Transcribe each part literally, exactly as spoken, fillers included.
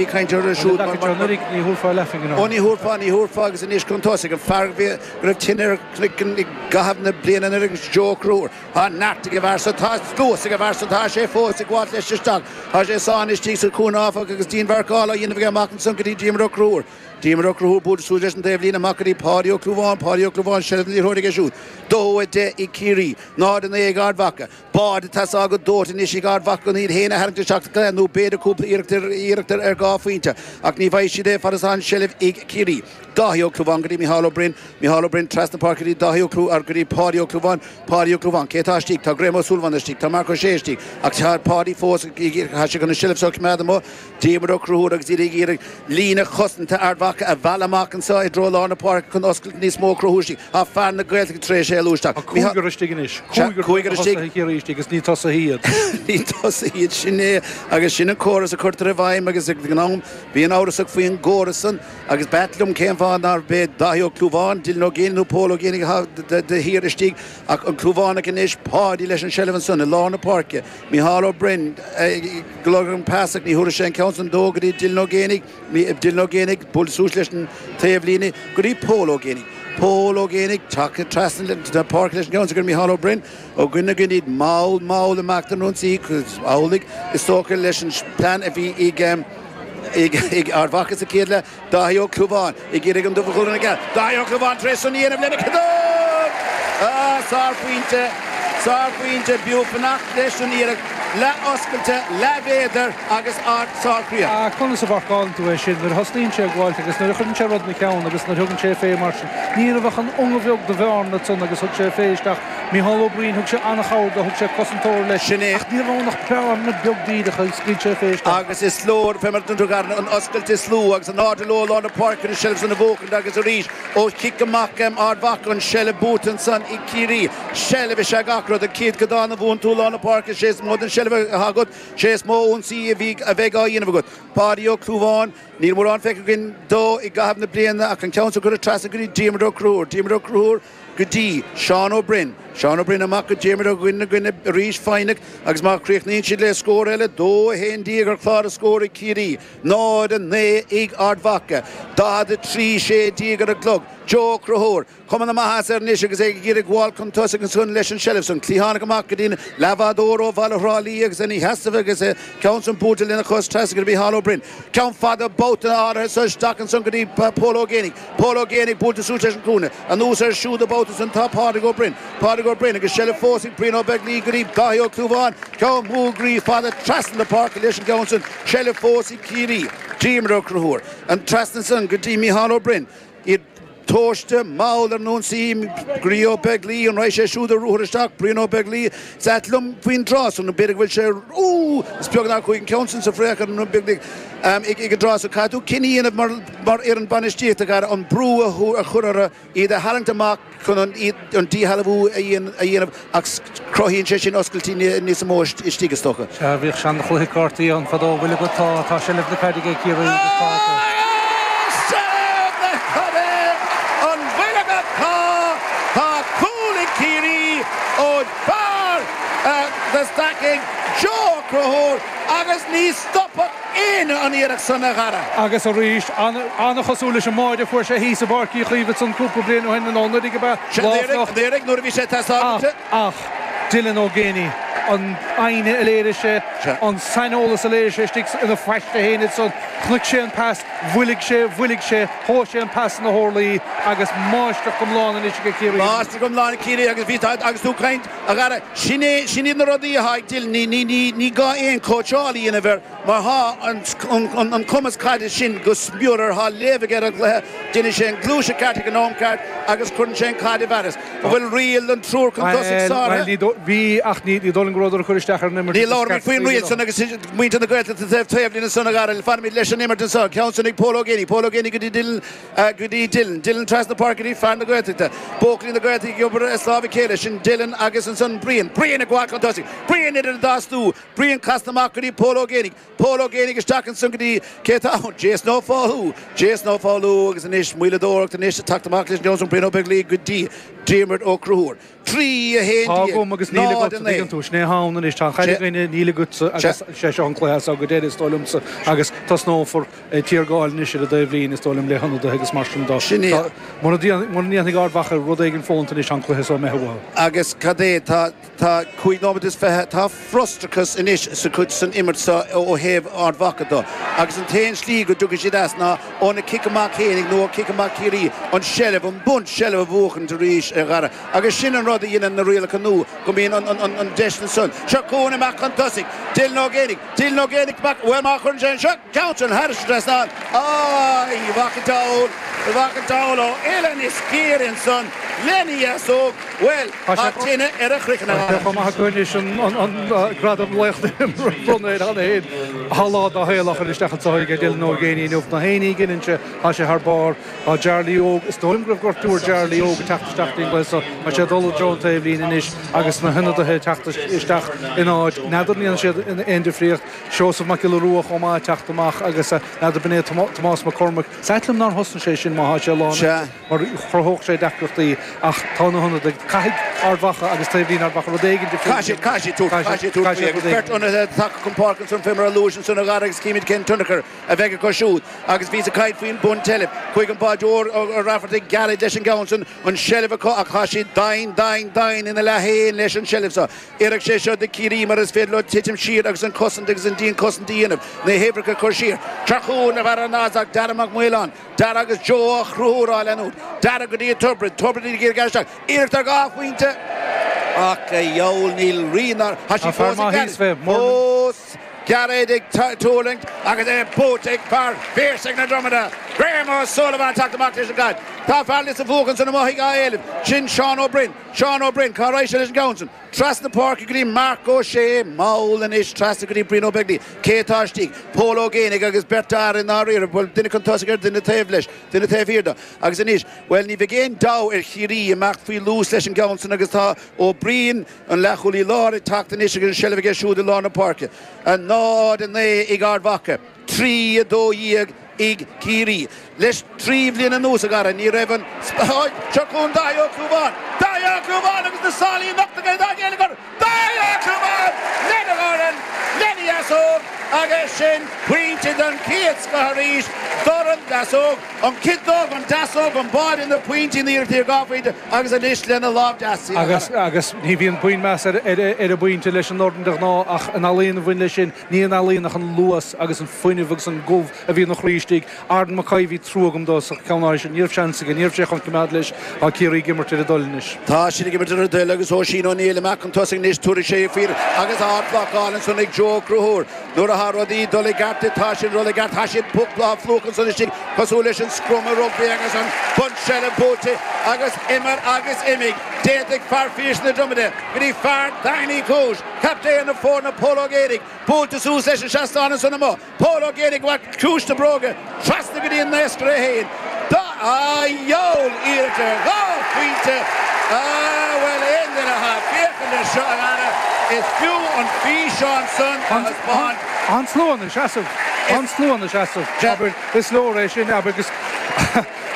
bhí ag caint orthu siúd. Ní thabharfá leathphingin. Ó ní thabharfá, ní thabharfá agus anois chun tosaigh an fear a bhí go raibh tine ar chnoic i gcaitheamh na bliana anuraidh agus Joe Ó Conchúir. Tá neart ag an bhfear so, tá luas ag an bhfear so, tá sé fós ag gabháilt leis isteach. Tá sé sáinnithe istigh sa chúinne áfach agus díonmharcáil á dhéanamh aige amach ansan go dtí Diarmuid Ó Conchúir. Diarmuid Ó Conchúir buailte suas leis an taobhlíne amach go dtí Páidí Ó Clúmháin, Páidí Ó Clúmháin, seilbh na liathróide aige siúd. Dó a deich ag Ciarraí, náid a naoi ag Ard Mhacha. Bád ag teastáil go dóite anois ag Ard Mhacha chun iad féin a tharraingt isteach sa gcluiche nó b'fhéidir cúpla iarracht ar iarracht ar dhá phointe ach ní bhfaighidh siad é fad is atá an seilbh ag Ciarraí. Dáithí Ó Clúmháin go dtí Micheál Ó Broin, Micheál Ó Broin trasna páirce go dtí Dáithí Ó Clú ar go dtí Páidí Ó Clúmháin, Páidí Ó Clúmháin. Cé atá istigh? Tá Graham Ó Súilleabháin istigh, tá Marc Ó Sé istigh ach tá Páidí fós tá sé chun an seilbh seo a choimeád amuigh. Diarmuid Ó Conchúir agus iad ag iarraidh líne chosanta Ard Mhacha a mhealladh amach anseo i dtreo lár na páirce chun oscailt níos mó a chruthú istigh. Tá fear na Gaeltachta tar éis éalú isteach. Tá cúigear istigh anois. Cúigear istigh. Ciarraí istigh agus ní tosaithe iad. Ní tosaithe iad, sin é. Agus sin an córas a chuirtear i bhfeidhm agus ag an am bíonn amhrasach faoin gcóras san agus b'ait liom cén fáth nár b'é Dáithí Ó Clúmháin, Dylan Ó Géibheannaigh nó Pól Ó Géibheannaigh atá de shíor istigh ach an Clúmhánach anois, Páidí leis an seilbh ansan i lár na páirce. Micheál Ó Broin ag lorg an pas ach ní thabharfaidh sé an ceann san dó go dtí Dylan Ó Géibheannaigh. Dylan Ó Géibheannaigh buailte suas leis an taobhlíne go dtí Pól Ó Géibheannaigh. Pól Ó Géibheannaigh tagtha trasna na páirce leis an gceann san go dtí Micheál Ó Broin. Ó dhuine go iad mall mall ag imeacht an ionsaí amhlaidh is dócha leis an plean a bhí ag ag Ard Mhacha sa chéad leath. Dáithí Ó Clúmháin ag iarraidh an dubh a chur ina gceann. Dáithí Ó Clúmháin tar éis san a dhéanamh lena chadág! Ah, sárphointe, sárphointe, b'fhiú fanacht leis an iarracht. Leath oscailte, leathmhéadar agus ard sárchríoch. Ah, conas a mharcálann tú é sin nuair a thosnaíonn sé ag gabháilt agus nuair a chuireann sé rud ina cheann agus nuair a thugann sé fé mar sin. Ní raibh ach an unga bheag de bhearna ansan agus thug sé fé isteach. Micheál Ó Broin, thug sé an-chabhair dó, thug sé cosantóir leis. Sin é. Ach ní raibh ann ach bearna beag díreach agus scaoil sé fé isteach. Agus is leor, fé mar a dúirt tú, an oscailt is lú agus in airde leo i lár na páirce an tseilbh san a bhuachaint agus arís ó chic amach Ard Mhacha an tseilbh buaite ansan ag Ciarraí. Seilbh is ea gach rud. An chéad codán a bhuann tú i lár na páirce, sé is mó den tseilbh atá agat, sé is mó ionsaí a bhí, a bheidh á dhéanamh agat. Páidí Ó Clúmháin, níl mórán feicthe againn dó i gcaitheamh na bliana ach an ceann san curtha trasna go dtí Diarmuid Ó Conchúir. Diarmuid Ó Conchúir go dtí Seán Ó Broin. Seán Ó Broin amach go Diarmuid Ó Dhuinn na gcoinne arís foighneach agus má chríochnaíonn siad le scór eile, dó a haon déag ar chlár na scór ag Ciarraí, náid a naoi ag Ard Mhacha, daichead a trí sé déag ar an gclog. Joe Ó Conchúir, Cuma na maitheasa air anois agus é ag iarraidh gabháil chun tosaigh ansan leis an tseilbh san. Cliathánach amach go dtí an leathbhádóir ó bhaile Thrá Lí agus ina sheasamh agus an ceann san buailte lena chos trasna go dtí Micheál Ó Broin. Ceann fada babhta áirithe so isteach ansan go dtí Pól Ó Géibheannaigh. Pól Ó Géibheannaigh buailte suas leis an gcúinne. Anuas air siúd an babhta san tá Pádraig Ó Broin. Pádraig Ó Broin agus seilbh fós ag Brian Ó Beaglaoich go dtí Dáithí Ó Clúmháin. Ceann múgraí fada trasna na páirce leis an gceann san. Seilbh fós ag Ciarraí. Diarmuid Ó Conchúir. An trasna san go dtí Micheál Ó Broin. Iad tomhaiste mall ar an ionsaí. Brian Ó Beaglaoich, an raghaidh sé siúd ar ruathar isteach? Brian Ó Beaglaoich, Is ait liom faoin dtráth san, b'fhéidir go bhfuil sé, Úúú! Is beag nár chuaigh an ceann san sa bhfraoch ar an Beaglaoich ag an dtráth san. Caithfidh tú cinneadh a dhéanamh mar mar fhoireann bainistíochta, a an brú a chur orthu, iad a tharraingt amach chun an an díshealbhú a dhéanamh ach cruthaíonn sé sin oscailtí níos mó istigh is dócha. Sea, bhíodh seanchluiche cártaí ann fadó, bhfuil agat, tá, tá seilbh na caide ag Ciarraí agus tá acu. Seilbh na caide! An bhfuil agat? Tá! Tá cúl ag Ciarraí ó fear na Stacaigh, Joe Ó Conchúir agus ní stopfadh éinne an iarracht san a Dhara. Agus arís, an-chosúil leis an mbáide a fuair sé thíos i bPáirc Uí Chaoimh ansan cúpla bliain ó shin, nó anuraidh ab ea, lá fliuch. Anuraidh, nuair a bhí sé ag teastáil uait. Ach, Dylan Ó Géibheannaigh, an fhoighne a léirigh sé, an saineolas a léirigh sé istigh ina phaiste féin ansan, chonaic sé an pas, mhoilligh sé, mhoilligh sé, thomhais sé an pas ina horlaí agus máistreacht iomlán anois ag Ciarraí. Máistreacht iomlán ag Ciarraí agus bhí, agus tú ag caint, a Dhara, sin é, sin iad na rudaí atá ag Dylan, ní, ní, ní, ní gá aon chóitseáil a dhéanamh air. Mar tá an cumas caide sin go smior air, tá léamh aige ar an gcluiche, déanann sé an ghluaiseacht ceart ag an am ceart agus cuireann sé an chaid i bhfearas. An bhfuil riail an triúr chun tosaigh sáraithe? Bhuel, bhí, ach ní dóigh liom go rabhadar ag cur isteach ar an imirt. Ní labhraímid faoin riail san agus muintir na Gaeltachta taobh taobh linn ansan, a Dhara. Fanfaimid leis an imirt anseo. Ceann san ag Pól Ó Géibheannaigh. Pól Ó Géibheannaigh go dtí Dylan, go dtí Dylan. Dylan trasna páirce go dtí fear na Gaeltachta. Buachaillí na Gaeltachta ag obair as lámh a chéile. Sin Dylan agus ansan Brian. Brian ag gabháil chun tosaigh. Brian idir an dá stua. Brian casta amach go dtí Pól Ó Géibheannaigh. Pól Ó Géibheannaigh isteach ansan go dtí, cé atá ann? Jason Ó Foghlú. Jason Ó Foghlú agus anois moilleadóireacht anois ag teacht amach leis an gceann san Brian Ó Beaglaoich go dtí Diarmuid Ó Conchúir. Trí a haon Tá agam agus níl agat tuigeann tú, sin é ann anois, tá an chaid againne, níl agatsa agus sé seo an cluiche as go deireadh is dóigh liomsa agus tosnófar tiargáil anois ar an dtaobhlíne is dóigh liom le hionadaithe agus mar sin dó. Sin é. Mura ndéanfaidh Ard Mhacha rud éigin fónta anois tá an cluiche seo imithe uathu. Agus cad é, tá tá cúig nóiméad is fiche, tá frustrachas anois sa chuid san imirt seo ó thaobh Ard Mhacha dó. Agus an t-aon slí go dtiocfaidh siad as ná óna cic amach fhéinig nó ó cic amach Ciarraí, an seilbh, an bunt seilbh a bhuachan arís a Dhara. Agus sin an rud a dhéanann na rialacha nua, go mbíonn an, an, an, an deis ansan. Seo chugainn amach chun tosaigh, Dylan Ó Géibheannaigh, Dylan Ó Géibheannaigh amach, bhuel má chuireann sé anseo, ceann sin thairis an trasnán, Ai, bhfaca diabhal, bhfaca diabhal ó uillinn is géar ansan lena dheasóg, bhuel, tá tine ar a chroiceann a Tá sé Dhara. chomh maith acu anois an, an, an gradam laoch a bhronnadh air cheana féin. Tá lá dá shaol á chur isteach anseo ag Dylan Ó Géibheannaigh inniu. Na héinní a ghineann sé, tá sé thar barr. Tá Jarly Óg, is dóigh liom go raibh gortú ar Jarly Óg ag teacht isteach dtí'n gcluiche seo. Tá sé ag dul i dtreo an taobhlíne anois agus na hionadaithe ag teacht isteach in áit. N'fheadar an ndéanann siad aon difríocht. Seosamh Mac Giolla Rua chomh maith ag teacht amach agus n'fheadar b'in é Tomás Mac Cormaic. Is ait liom nár thosnaigh sé sin má tá sé lán Sea. mar chruthódh sé deacrachtaí ach tá na hionadaithe. Caithfidh Ard Mhacha agus taobhlíne Ard Mhacha rud éigin difriúil. Caithfidh siad, caithfidh siad tabhairt, caithfidh siad tabhairt faoi agus beirt ionadaithe tagtha chun páirce ansan fé mar a luais ansan a Dhara agus címid cén tionchar a bheidh acu siúd. Agus bhíos ag caint faoin mbuntseilbh. Chuaigh an báideoir Ó Raifeartaigh gealladh leis an gceann san, an seilbh acu ach tá siad dain, dain, dain ina leath féin leis an seilbh seo. Oirfidh sé seo do Chiarraí mar is féidir leo titim siar agus an cosaint agus an dianchosaint a dhéanamh, na huimhreacha a chur siar. Seo chugainn a bhfear an Nasdaq, Dara Mac Maoláin. Dara agus Joe Ó Conchúir á leanúint. Dara go dtí Tiobraid, Tiobraid ag iarraidh isteach. Iarracht ar dhá phointe. Ach a dheabhail níl rí nár tá sí Tá fear fós ag maith Gearóid. thíos fé, Fós Gearóid ag tuirlingt agus é buaite ag fear Phiarsaigh na Dromoda. Graham O'Sullivan teacht amach leis an gcaid. Tá fear Lios an Bhuachan san amuigh á éileamh. Sin Seán Ó Broin. Seán Ó Broin, cá raibh sé leis an gceann sin? Trasna páirce go dtí Marc Ó Sé, mall anois trasna go dtí Brian Ó Beaglaoich. Cé atá istigh? Pól Ó Géibheannaigh agus beirt fhear i ndáiríre, bhuel duine chun tosaigh ar duine taobh leis, duine taobh thiar dó. Agus anois, bhuel ní bheidh aon dabht ar Chiarraí amach faoi luas leis an gceann sin agus tá Ó Briain an leathchúlaí láir ag teacht anois agus an seilbh aige siúd i lár na páirce. A náid a naoi ag Ard Mhacha, trí a dó dhéag ag Ciarraí. Leis trí bhliain anuas a Dhara, ní raibh an seo chugainn Dáithí Ó Clúmháin. Dáithí Ó Clúmháin agus na sálaí nochta aige dá ghéilleagar. Dáithí Ó Clúmháin lena dhorn, lena dheasóg agus sin pointe den chéad scoth arís. Dorn deasóg, an ciotóg, an deasóg, an báide na pointí na iarrachtaí ar dhá phointe agus anois lena lámh deas. Agus agus ní bhíonn puinn meas ar ar ar an bpointe leis an ndorn de ghnáth ach an ealaín a bhain leis sin, ní an ealaín ach an luas agus an fuinneamh agus an gomh a bhí ina chroí istigh. Arden Mackay bhí trua agam dó sa cheann áir sin, ní raibh seans aige, ní raibh sé chun coimeád leis, tá Ciarraí ag imirt ar a dtoil anois. Tá siad ag imirt ar a dtoil agus Oisín O'Neill amach chun tosaigh anois tabharfaidh sé faoi agus ardbhlocáil ansan ag Joe Conchúir. Nuair atá rudaí dul i gceart tá siad dul i gceart, tá siad lá phlúch ansan istigh cosúil leis an scrum i rugbaí agus an bunseilbh buaite agus imir agus imigh. D'fhéadfadh fear Phiarsaigh na Dromoda go dtí fear Daingean Uí Chúis, captaen na foirne Pól Ó Géibheannaigh, buailte suas leis an seastán ansan amuigh. Pól Ó Géibheannaigh amach ciumhais na bróige, trasna go dtí an naoscaire féin. Dá a dheabhail iarracht ar dhá phointe. Ah, bhuel aon duine atá ag féachaint air seo a Dhara, is fiú an físeán san a thaispeáint. An slua ina seasamh, an slua ina seasamh. Abair, is leor é sin, abair, agus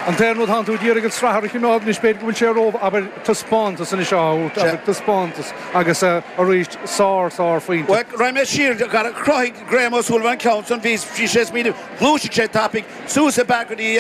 an t-aon rud tánn tú ag iarraidh an srathair a choimeád anois b'fhéidir go bhfuil sé ró, abair, taispeántas anois á thabhairt, abair, taispeántas agus arís sár, sár phointe. Bhuel, raghaidh mé siar, a Dhara, chruthaigh Graham O'Sullivan an ceann san, bhí bhí sé ag smaoineamh, ghluaisigh sé tapaidh suas i bpeac go dtí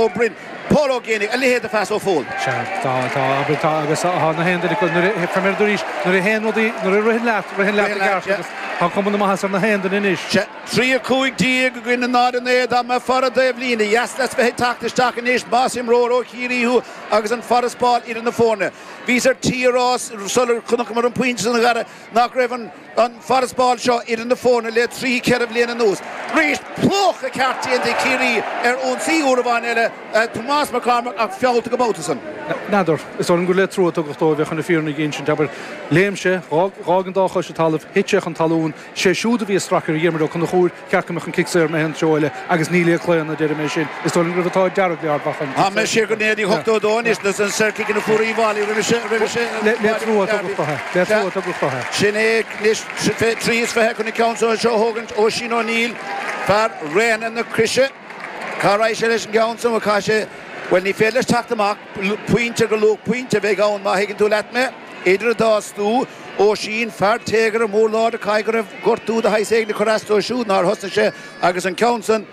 Ó Broin, Pól Ó Géibheannaigh, a leithéid de phas ó Phól. Sea, tá, tá, abair, tá, agus tá na haon duine acu, nuair a, fé mar arís, nuair a théann rudaí, nuair a ritheann leat, ritheann leat i gceart agus tá cuma na maitheasa ar na haon duine anois. Sea, trí a cúig déag againn i náid a naoi dá mbeadh fear an taobhlíne dheas leat bheith ag teacht isteach anois más imreoir ó Chiarraí thú agus an farasbarr idir na foirne. Bhíos ar tí a rá sular chonaiceamar an pointe san a Dhara nach raibh an an farasbarr seo idir na foirne le trí ceithre bhliain anuas. Arís plúchadh ceart déanta ag Ciarraí ar ionsaí úr amháin eile, Tomás Mac Cormaic ach feallta go babhta san. N'fheadar, is dóigh liom gur le trua a tugadh dó a bheith chun na fírinne a insint, abair, léim sé, dh'fhág an dá chois an talamh, thit sé chun talún, sé siúd a bhí ag stracadh ar Dhiarmuid Ó Conchúir, ceart go mbeadh an cic saor imithe an treo eile agus ní le claonadh, deirim é sin. Is dóigh liom go raibh an t-ádh dearg le Ard Mhacha. Tá mé siar go naoi déag ochtó a dó anois leis an saorchic ina fuair Uíbh Fhailí roimhe se, roimhe se, Le le trua a tugadh dó é, le trua a tugadh dó é. Sin é anois trí is fiche chun an ceann seo a thógaint Oisín O'Neill, fear Raona na Croise. Cá raibh sé leis an gceann san, chaith sé Bhuel, ní féidir leis teacht amach, pointe go luach pointe a bheidh ann má thuigeann tú leat mé. Idir an dá stua, Oisín, fear téagartha mór láidir, caithfidh go raibh gortú de shaghas éigin ag cur as dó siúd nár thosnaigh sé agus an ceann san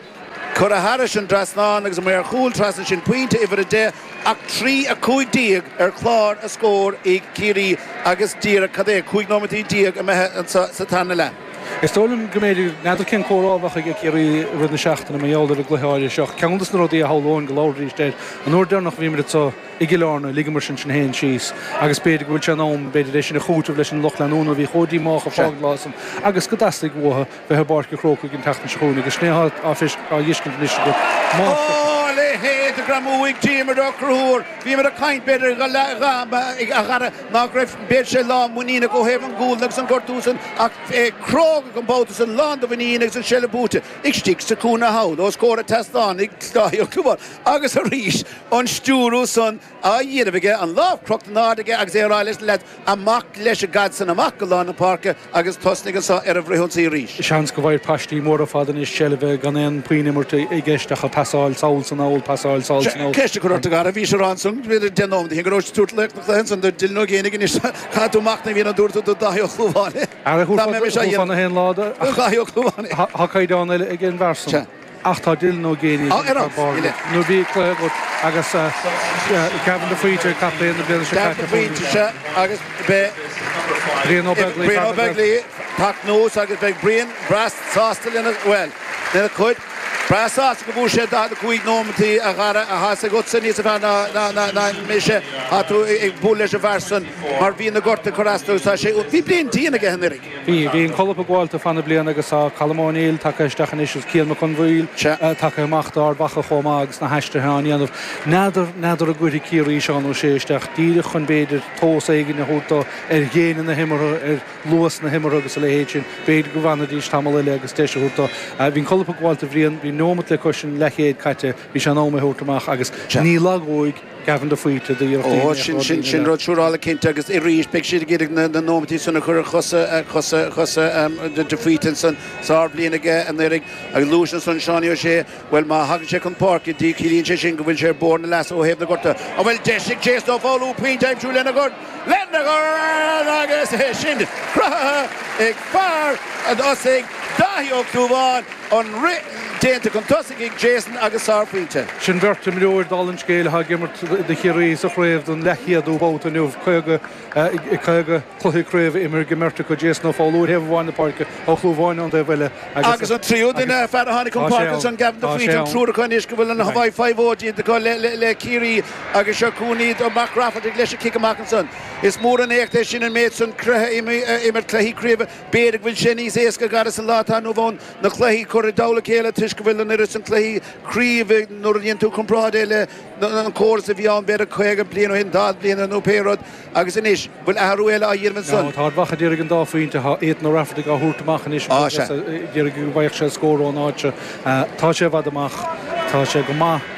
curtha thairis an dtrasnán agus amuigh ar chúl trasna sin pointe uimhir a deich ach trí a cúig déag ar chlár a scór ag Ciarraí agus díreach cad é cúig nóimeataí déag imithe anso sa tarna leath. Is dóigh liom go mb'fhéidir, n'fheadar cén comhrá a bheadh ag Ciarraí i rith na seachtaine mar gheall ar an gcluiche áirithe seo. Ceann de na rudaí a shamhlóinn go labhróidís air an uair deireanach a bhíomar anseo i gCill Airne, ligeamar sinn féin síos agus b'fhéidir go bhfuil sé in am, b'fhéidir, é sin a chúiteamh leis an lucht leanúna a bhí chomh díomách a fág an lá san agus go dteastaigh uathu bheith i bPáirc an Chrócaigh an tseachtain seo chugainn agus sin é atá á fheiscint anois agat. Á, a leithéid de ghreamú ag Diarmuid Ó Conchúir! Bhíomar ag caint, b'fhéidir, a Dhara, nach raibh, b'fhéidir, sé lán muiníneach ó thaobh an gcúl agus an gortú san ach é cróga an babhta san, lán de mhuinín agus an seilbh buaite istigh sa chúinne thall os comhair an tseastáin ag Dáithí Ó Clúmháin agus arís an stiúradh san á dhéanamh aige, an lámh crochta in airde aige agus é ag rá leis na leaids, amach leis an gcaid san, amach go lár na páirce agus tosnaigh anso ar an bhfrithionsaí arís. Seans go bhfaighidh paistí móra ar fad anois seilbh gan aon puinn imirt i gceist ach pasáil sall 's anall, pasáil sall 's anall. Ceist a chur ort a Dhara, bhís ag rá ansan, b'fhéidir deich nóiméad ó shin go raibh tú ag tabhairt laoch na cluiche ansan do Dylan Ó Géibheannaigh anois, caithfidh tú machnamh a dhéanamh an dtabharfaidh tú do Dáithí Ó Clúmháin é? Ara thabharfá na haon lá do Dáithí Ó Clúmháin é. Tá caighdeán eile ag an bhfear san. Ach tá Dylan Ó Géibheannaigh ag ar barr nuair bhí cluiche agat agus Gavin de Faoite, captaen na bliana seo caite. Gavin de Faoite, sea, agus beidh Brian Ó Beaglaoich Brian Ó Beaglaoich teacht anuas agus beidh Brian breá sásta lena, bhuel, lena chuid, breá sásta go bhfuair sé daichead a cúig nóimeataí a Dhara a thá's agatsa níos fearr ná, ná, ná, ná mise, tá tú ag bualadh leis an bhfear san mar bhí na gorta ag cur as dó agus tá sé, bhí bliain dian aige anuraidh. Bhí, bhí an cholp ag gabháil fá na bliana agus tá Colm O'Neill tagtha isteach anois agus Cian Mac Conmhaoil tagtha amach d'Ard Mhacha chomh maith agus na haistrithe á ndéanamh. N'fheadar, n'fheadar an gcuirfidh Ciarraí Seán Ó Sé isteach díreach chun b'fhéidir tomhas éigin a thabhairt dó ar dhéine na himeartha, ar luas na himeartha agus a leithéid sin. B'fhéidir go bhfanfaidís tamall eile agus deis a thabhairt dó. Bhí an colp ag gabháil do Bhrian, bhí neomat le cois an leathchéad caite, bhí sé in am é a thabhairt amach agus ní lagóidh Gavin de Faoite d'iarrachtaí Ó, sin, sin, sin rud siúrála cinnte agus arís beidh siad ag iarraidh na, na nóimeataí san a chur ar chosa, chosa, chosa de Faoite ansan. Sárbhliain aige anuraidh agus luais ansan Seánie Ó Sé, bhuel má thagann sé chun páirce di ciallaíonn sé sin go bhfuil sé ar bharr na leasa ó thaobh na gorta. An bhfuil deis ag Jason Ó Foghlú pointe a aimsiú lena dhorn? Lena dhorn agus é sin cruthaithe ag fear an Osaigh, Dáithí Ó Clúmháin, an rith déanta chun tosaigh ag Jason agus sárphointe. Sin beirt imreoir dála an scéil atá ag imirt do Chiarraí sa chraobh don leathchéadú babhta inniu. Caoga, caoga cluiche craoibhe imeartha ag an mbeirt acu, Jason Ó Foghlú ar thaobh amháin na páirce, Ó Clúmháin ón dtaobh eile agus. Agus an tríú duine, fear a tháinig chun páirce ansan, Gavin de Faoite, an triúr acu anois go bhfuil an Hawaii Five-O déanta acu le Ciarraí agus seo chugainn iad, Mac Raifeartaigh leis an cic amach ansan. Is mór an éacht é sin an méid san cluiche a imirt, cluichí craoibhe. B'fhéidir go bhfuil sé níos éasca a Dhara sa lá atá inniu ann na cluichí a chur i dtoll a chéile toisc go bhfuil an oiread san cluichí craoibhe nuair a dhéanann tú comparáid é le an córas a bhí ann b'fhéidir caoga bliain ó shin, daichead bliain nó pé rud agus anois bhfuil athrú eile á dhéanamh ansan. Tá Ard Mhacha ag iarraidh an dá phointe, tá Ethan Ó Raifeartaigh á thabhairt amach anois agus ag iarraidh go bhfaigheadh sé scór ón áit seo. Tá sé i bhfad amach, tá sé go maith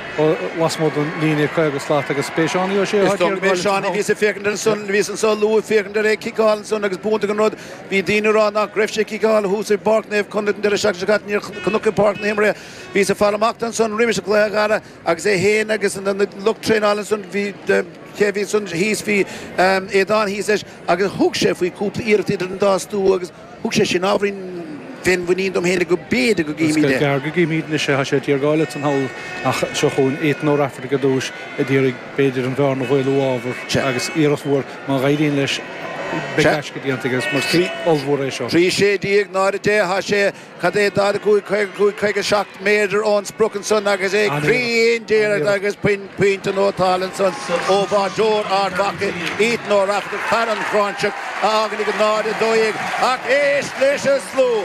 lasmuigh den líne caoga slat agus b'é Seánie Ó Sé atá ag iarraidh dul leis an. Bhíos ag féachaint air ansan, bhíos anso luath ag féachaint air é ag ciceáil ansan agus b'iontach an rud, bhí daoine ag rá nach raibh sé ag ciceáil thuas i bPáirc Naomh Conleth an deireadh seachtaine seo caite, níor chonac i bPáirc na himeartha é. Bhíos ag fáil amach ansan roimis an gcluiche a Dhara agus é féin agus an lucht traenála ansan, bhí, cé a bhí ansan thíos, bhí Aodán thíos leis agus thug sé faoi chúpla iarracht idir an dá stua agus thug sé sin ábhairín féinmhuinín dom féin go b'fhéidir go gcífimid é. Is gearr go gcífimid anois é, tá sé ag tiargáil ansan thall ach seo chugainn Ethan Ó Raifeartaigh ar dtús ag iarraidh b'fhéidir an bhearna a mhaolú ábhar agus iarracht mhór má éiríonn leis beidh gaisce déanta aige mar is cic ollmhór é seo. Trí sé déag, náid a deich, tá sé Cad é daichead a cúig, caoga a cúig, caoga seacht méadar ón sprioc ansan agus é cruinn díreach agus pointe nótáilte ansan ó bháireoir Ard Mhacha, Ethan Ó Raifeartaigh, fear an Ghráinseach, a fhágann ag náid a dó dhéag. Ach éist leis an slua!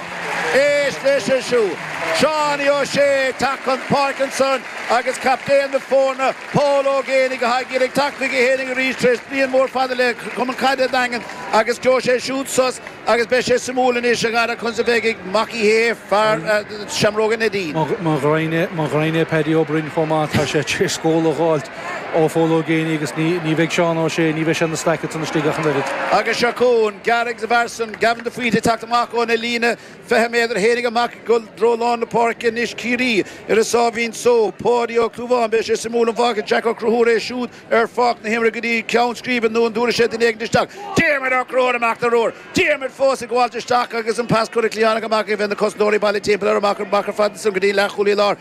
Éist leis an slua! Seánie Ó Sé ag teacht chun páirce ansan agus captaen na foirne, Paul Ó Géibheannaigh, atá ag iarraidh teacht chuige fhéinig arís tar éis bliain mhór fada le Cumann Caide an Daingin agus gheobhaidh sé siúd sos Agus beidh sé suimiúil anois, a Dhara, conas a bheidh ag Mac Uí Shé, fear Seamróga Neidín. Mo ghraidhin é Paddy Ó Broin chomh maith, tá sé tar éis scóladh a dh'fháilt ó Phól Ó Géibheannaigh agus ní bheidh Seán Ó Sé, ní bheidh sé ina staic ansan istigh ach an oiread. Agus seo chugainn Gearóid agus an fear san, Gavin de Faoite ag teacht amach óna líne fiche méadar, théinig amach ag dul i dtreo lár na páirce anois Ciarraí ar a sáimhín só. Páidí Ó Clúmháin beidh sé suimiúil an bhfágfaidh Jack Ó Conchúir é siúd ar pháirc na himeartha go dtí ceann scríbe nó an dtabharfaidh sé duine éigin isteach. Diarmuid Ó Conchúir amach den ruathar. Diarmuid fós ag gabháilt isteach agus an pas curtha cliatháin amach bheith na cosantóirí bailithe timpeall air amach amach ar fad san go dtí leathchúlaí láir.